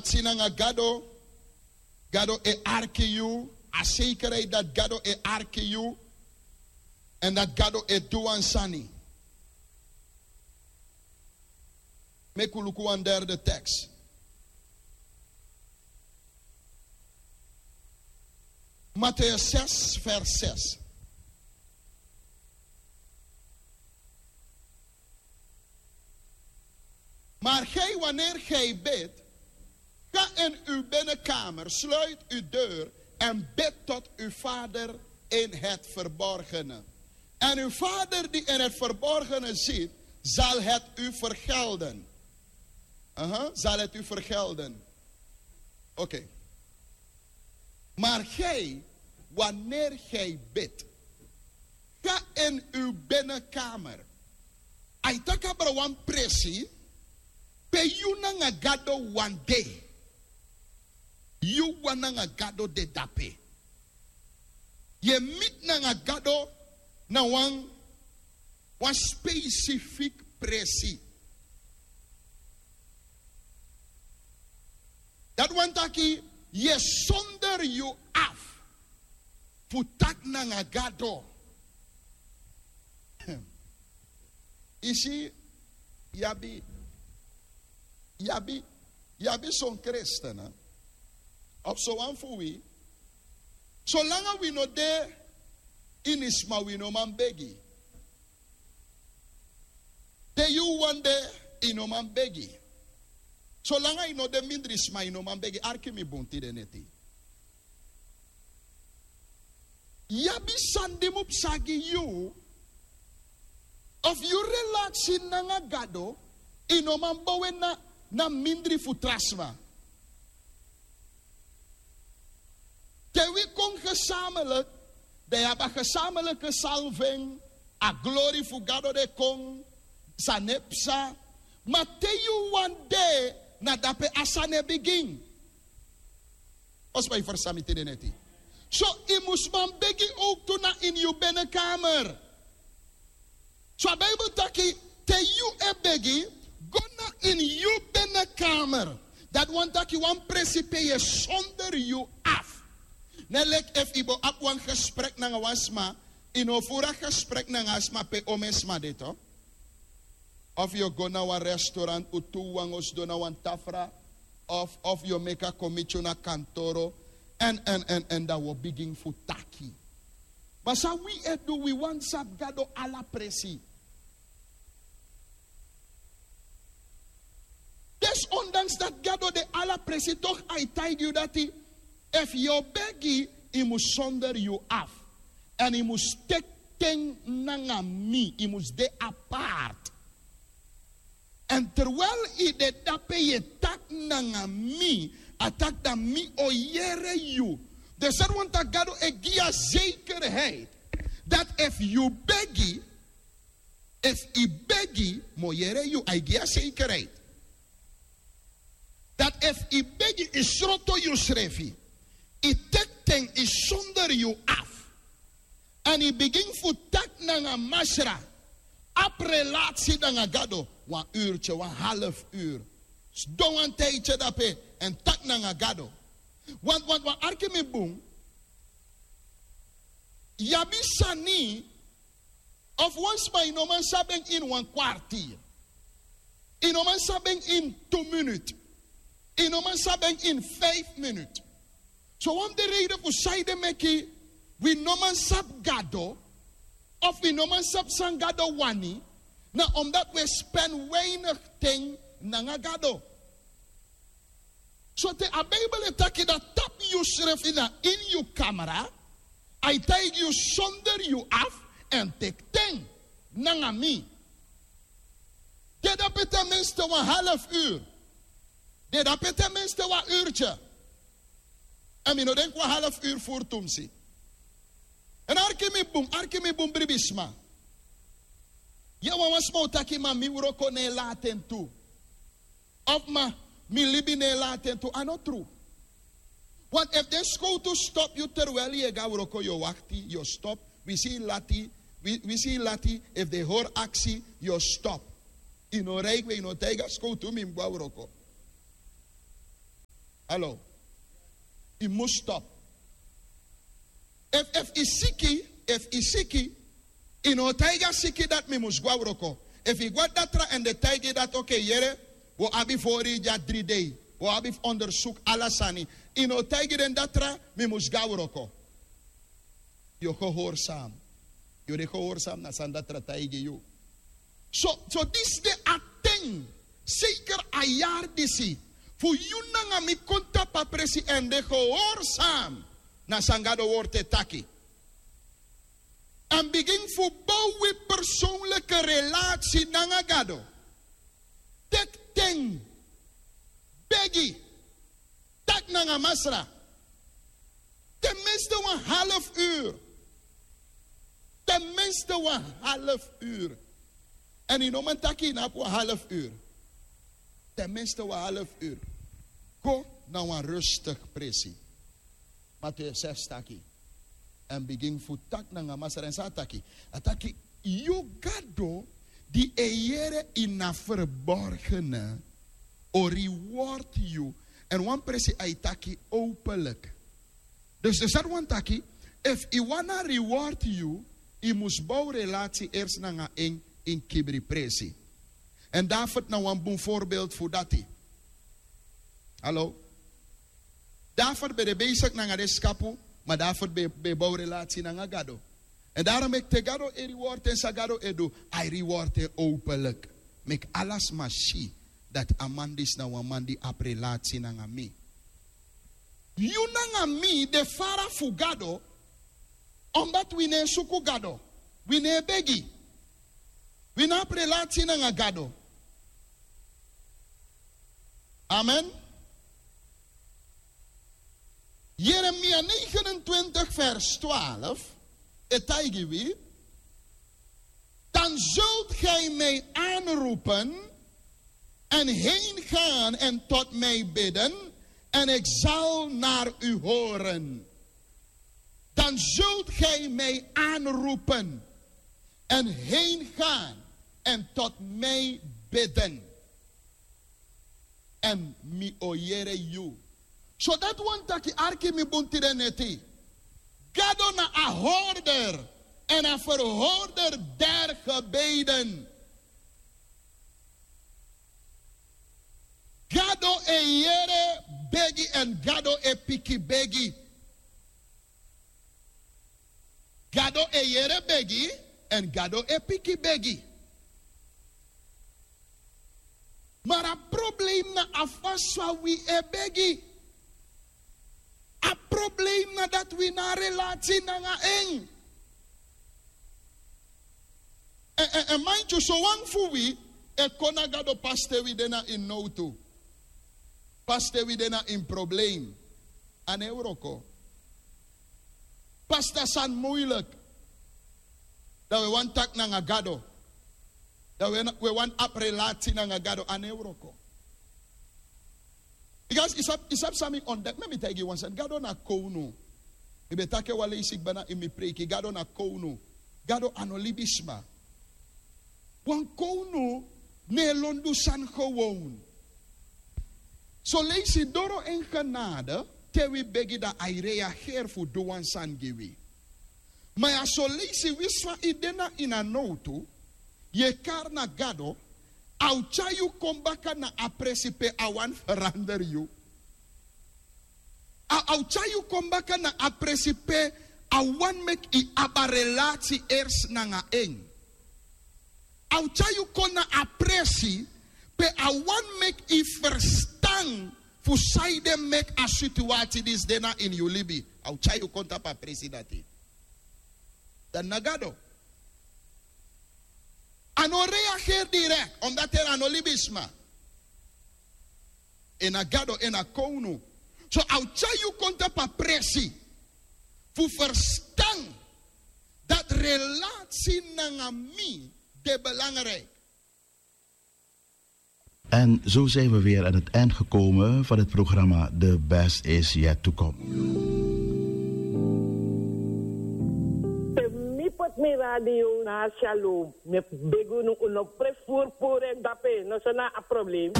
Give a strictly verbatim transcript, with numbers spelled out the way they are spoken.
Si nanga gado, gado e arki yu. A sekerheid dati gado e arki yu, èn dati gado e du wan sani. Meki un luku wan derde teks. Mateus zes vers zes. Maar gij, wanneer gij bidt, ga in uw binnenkamer, sluit uw deur en bid tot uw vader in het verborgene. En uw vader die in het verborgene ziet, zal het u vergelden. Aha, zal het u vergelden. Oké. Maar gij, wanneer gij bidt, ga in uw binnenkamer. A e taki abra wan presi pe yu nanga gado wan de. Yu wan nanga gado de dape. Yu e miti nanga gado na wan wan spesifik presi. Dati wani taki yu e sonder yu afu fu taki nanga gado. Yu si, yu abi yu abi yu abi son kristen, of sowan fu wi, solanga wi no de ini sma wi no man begi. Te yu wan de, yu no man begi. Solanga yu no de mindri sma yu no man begi. Arki mi bun tide neti. Yu abi sani di mu psa gi yu. Of yu relatsi nanga gado, yu no man bow en na mindri fu tra sma. Te wi kon gesamelik, dan yu abi a gesamelike salving, a glori fu gado de kon, sani e psa. Ma te yu wan de, na dape a sani e bigin. Ospa yu ferstan mi tide neti. So yu mus man begi owktu na ini yu benekamer. So a bibel taki, te yu e begi, go na ini yu benekamer. Dati wani taki wan presi pe yu e sonder yu afu. Ne leki efu yu bo abi wan gesprek nanga wan sma, yu no furu a gesprek nanga a sma pe omeni sma de to. Of yu o go na wan restaurant un tu wan o sidon na wan tafra, of of yu o meki a kon miti yu na kantoro, èn èn èn èn dan un o bigin fu taki. Ma san wi e du, wi wani sabi gado ala presi. Desondanks dati gado de ala presi, tok' a e taigi yu dati, efu yu o begi, yu mus sonder yu afu. Èn yu mus teki ten nanga mi, yu mus de apart. Èn terwel yu de dape yu e taki nanga mi, a taki dan mi o yere yu. Dus dati wani taki gado e gi yu a zekerheid dati efu yu begi, efu yu begi, mi o yere yu. A e gi yu a zekerheid dati efu yu begi, yu sroto yusrefi, yu teki ten, yu sonder yu afu, èn yu bigin fu taki nanga Masra, abi relasi nanga gado, wan urtye, wan half uru, sidon wan tijdye dape èn taki nanga gado. Want want want arki mi bun. Yu abi sani, of wan sma yu no man sabi en ini wan kwartier. Yu no man sabi en ini tu minut. Yu no man sabi en ini fif minut. So wan fu den reide fu san ede meki wi no man sabi gado, of wi no man sabi san gado wani, na omdati wi e spen weinig ten nanga gado. So te a bibel e taki dati, tapu yusrefi na ini yu kamra, a e taigi yu sonder yu afu èn teki ten nanga mi. De dape ten minste wan half uru. De dape ten minste wan urtye. Èn mi no denki wan half uru furu tumsi. Èn arki mi bun, arki mi bun, bribisma. Yu e wan wan sma o taki ma mi wroko no e lati en tu. Of ma mi libi no e lati en tu, a no tru. Want efu den skowtu stop yu terwel yu e go na wroko, yu o wakti, yu o stop. Wi si yu lati, wi si yu lati, efu den hori aksi, yu o stop. Yu no rij gwe, yu no taigi a skowtu mi mus go na wroko. Alo. Yu mus stop. Efu efu yu siki, efu yu siki, yu no o taigi a siki dati mi mus go na wroko. Efu yu go na datra èn den taigi yu dati, oke, yere, wi o abi fu hori yu dya dri dei. Wi o abi fu ondersuku ala sani. Yu no o taigi den datra mi mus go na wroko. Yu o gehorsam. Yu o de gehorsam na san datra taigi yu. So so disi de a ten, seker a yari disi, fu yu nanga mi kon tapu a presi èn de gehorsam na san Gado wortu e taki. Èn bigin fu bow wi persownliki relasi nanga Gado. Teki ten, begi, taki nanga Masra. Ten minste wan half uru. Ten minste wan half uru. Èn yu no man taki yu no abi wan half uru. Ten minste wan half uru. Go na wan rustigi presi. Matu yu e sefsi taki. Èn bigin fu taki nanga Masra èn san a taki. A taki, yu Gado di e yere ini a verborgene o reward yu. Èn wan presi a e taki openlik. Dus dus dati wani taki, efu yu wani a reward yu, yu mus bow relasi ersi nanga en ini kibri presi. Èn David na wan bun voorbeeld fu dati. Hallo. David ben de besigi nanga den skapu, ma David ben ben bow relasi nanga Gado. Èn daro meki te Gado e reward en, san Gado e du, a e reward en openlik. Meki ala sma si dati a man disi na wan man di abi relasi nanga mi. Yu nanga mi de fara fu Gado. Omdat wi no e suku Gado, wi no e begi, wi no abi relasi nanga Gado. Amen. Jeremia negenentwintig vers twaalf e taigi wi: Dan zult gij mij aanroepen en heen gaan en tot mij bidden, en ik zal naar u horen. Dan zult gij mij aanroepen en heen gaan en tot mij bidden. Èn mi o yere yu. So dati wani taki, arki mi bun tide neti. Gado na a hoorder en a verhoorder der gebeden. Gado e yere begi èn Gado e piki begi. Gado e yere begi èn Gado e piki begi. Mara problem na a fasi fa wi e begi. A problem na dati wi no abi relasi nanga en. En en en maintyu, sowan fu wi e kon na Gado pasi te wi de na ini nowtu, pasi te wi de na ini problem. A no e wroko. Pasi te a sani muiliki, dan wi e wani taki nanga Gado, dan wi e wani abi relasi nanga Gado, a no e wroko. Bikasi yu sabi yu sabi san mi ontdeki, meki mi taigi yu wan sani. Gado na kownu. Mi ben taki en wan leisi kba na ini mi preiki. Gado na kownu. Gado a no libisma. Wan kownu no e lon du sani gewon. Soleisi doro en genade, te wi begi dan a e reageri fu du wan sani gi wi. Ma ya soleisi wi san yu de na ini a nowtu, yu e kari na Gado, a o tyari yu kon baka na a presi pe a wani feranderi yu. A o tyari yu kon baka na a presi pe a wani meki yu abi a relasi ersi nanga en. A o tyari yu kon na a presi pe a wani meki yu ferstan fu sanede meki a situasi disi de na ini yu libi. A o tyari yu kon tapu a presi dati. Dan na Gado. A no reageri direkti, omdati en a no libisma. En na Gado, en na kownu. So a o tyari yu kon tapu a presi fu ferstan dati relasi nanga mi de belangrijk. En zo zijn we weer aan het eind gekomen van het programma The Best Is Yet To Come. Te mi poti mi radio na Shalom, mi e begi unu, un no presi furu puru en dape, no so na a problem.